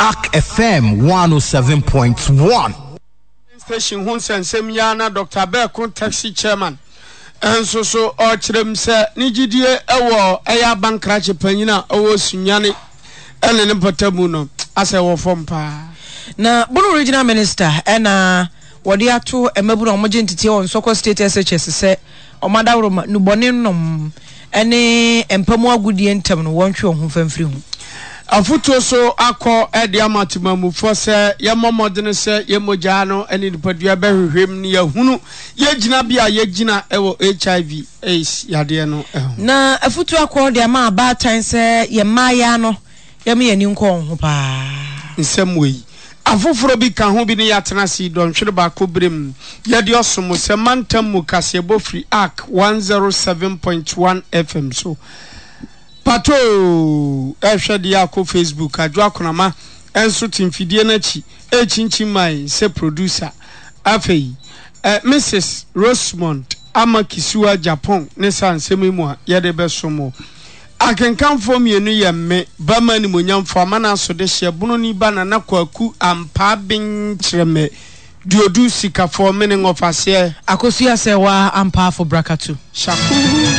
Ark FM 107.1. Station ho nsɛnsɛm yi ara na Dɔkta Berko Taxi Chairman nso so ɔrekyerɛ mu sɛ ne gyidie wɔ ɛyɛ abankrakye panyin a ɔwɔ Sunyani ne ne mpɔtamu no asɛ wɔ fam paa. Na Bono Regional Minister na wɔde ato mmabunu a wɔgye nteteɛ wɔ Nsɔkɔ State SHS sɛ wɔn adaworoma, nnubɔne nom ne mpa mu agodie ntam no wɔntwe wɔn ho mfa mfiri ho. Afotuo so akɔ de ama temanmufoɔ sɛ yɛmmɔ mmɔdene sɛ yɛn mogya no ne nipadua bɛhwehwɛ mu na yɛahunu yɛn gyinabea a yɛgyina wɔ HIV, AIDS yadeɛ no ho. Na afotuo akɔ de ama abaatan sɛ yɛn mmaayaa no yɛmma yɛn ani nkɔ wɔn ho paa. Nsɛm wei Afoforɔ bi ka ho bi ne Yɛatena ase yi dɔnhwere baako berɛ mu yɛde ɔsom sɛ mantam mu kaseɛbɔ firi Ark 107.1 FM so. Patoo! Ɛrehwɛ deɛ akɔ Facebook, Adwo Akonama nso te mfidie no akyi rekyinkyim mae sɛ producer. Afei, eh, Mrs. Rosemond Ama Kisiwa Jappong ne saa nsɛm yi mu a yɛde bɛsom wo. Akenkanfoɔ mmienu yɛ me, Bama Animuonyamfoɔ Amana Asodehyeɛ Bononi Ba Nana Kwaku Ampaa Ben Kyerɛmɛ Duodu Sikafoɔ Mene Ngɔfaseɛ. Akosua Sɛwaa Ampaafo Brakatu. Shaku.